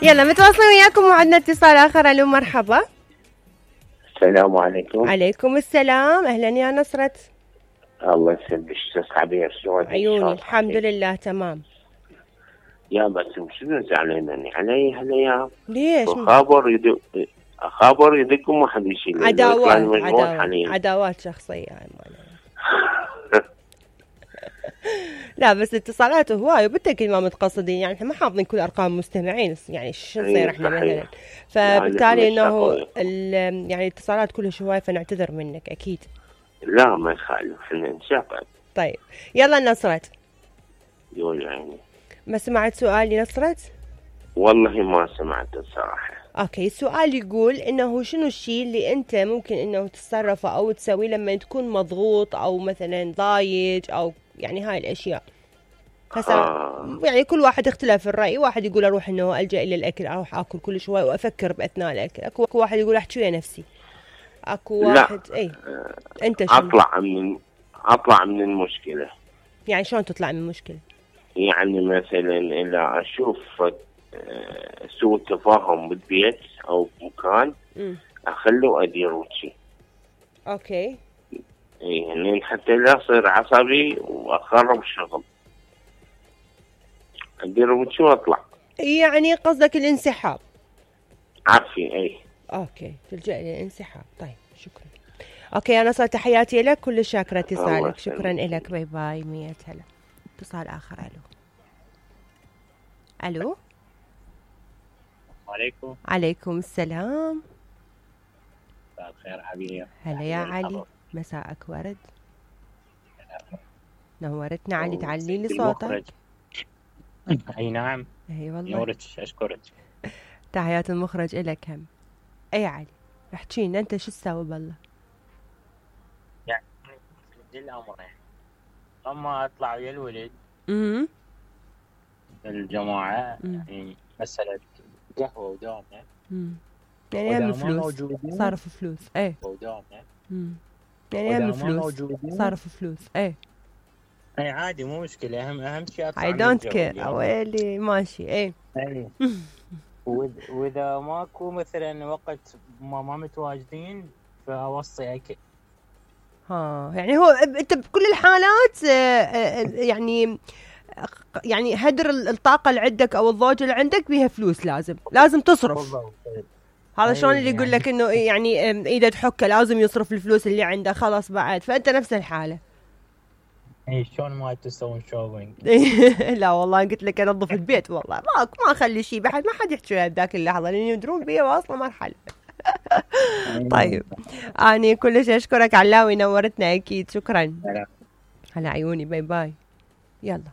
يلا متواصلين وياكم وعندنا اتصال آخر. ألو مرحبا. السلام عليكم. عليكم السلام. أهلا يا نصرت. الله يسلمك. عبير شلونك؟ عيوني الحمد لله تمام. يا بس شنو زعلانني علي هالايام؟ ليش؟ خبر يدق وما حد يشيل. عداوات شخصية لا بس اتصالات هواي وبالتأكيد ما متقصدين، يعني احنا ما حافظين كل ارقام المستمعين، يعني شو نصير احنا مثلا، فبالتالي انه يعني الاتصالات كلها هواي فنعتذر منك اكيد. لا ما يخالف احنا نشغل. طيب يلا نصرت. يقول يعني ما سمعت سؤالي نصرت؟ والله ما سمعت الصراحة. اوكي، السؤال يقول انه شنو الشيء اللي انت ممكن انه تتصرفه او تسويه لما تكون مضغوط او مثلا ضايج او يعني هاي الاشياء. يعني كل واحد اختلاف الرأي، واحد يقول اروح انه الجأ الى الاكل، اروح اكل كل شوي وافكر باثناء الاكل، اكو واحد يقول احكي ويا نفسي، اكو واحد اي انت شنو؟ اطلع من المشكلة. يعني شلون تطلع من المشكلة؟ يعني مثلا اذا اشوف سوء تفاهم بالبيت او بمكان اخله ادير وجهي. اوكي. يعني حتى لا اصير عصبي واخرب الشغل، ادير وجهي واطلع. يعني قصدك الانسحاب؟ عافية اي. اوكي، تلجأ للانسحاب. طيب شكرا. اوكي يا نصر، تحياتي لك، كل شاكرة اتصالك، شكرا لك، باي باي. 100 هلا. اتصال اخر. الو. عليكم. عليكم السلام. مساء الخير حبيبي. هلا يا علي، مساءك ورد. نورتنا علي، تعلي لي صوتك. اي نعم. اي والله. نورك، اشكرك. تحيات المخرج الك هم. اي علي احكي لنا انت شو تسوي بالله؟ يعني الامر يعني اما اطلع ويا الولد الجماعة يعني مسألة قهوة ودومة. يعني هم فلوس، صرف فلوس. ايه ودومة. يعني هم فلوس، صرف فلوس. ايه اي عادي مو مشكلة، اهم شيء اطلع. I don't care. اويلي ماشي. ايه واذا ماكو مثلا وقت ما متواجدين فاوصي اكل. يعني هو انت بكل الحالات يعني هدر الطاقة اللي عندك او الضوجة اللي عندك بيها فلوس، لازم تصرف. هذا شلون اللي يقول لك انه يعني ايده تحكه لازم يصرف الفلوس اللي عنده خلاص بعد، فانت نفس الحالة. اي شلون ما تسوون شوبينج؟ لا والله قلت لك انظف البيت، والله ما اخلي شيء بحد، ما حد يحكي بذاك اللحظة لان يدرون بي واصله مرحلة. طيب اني كلش اشكرك علاوي، نورتنا اكيد، شكرا. هلا عيوني، باي باي. يلا.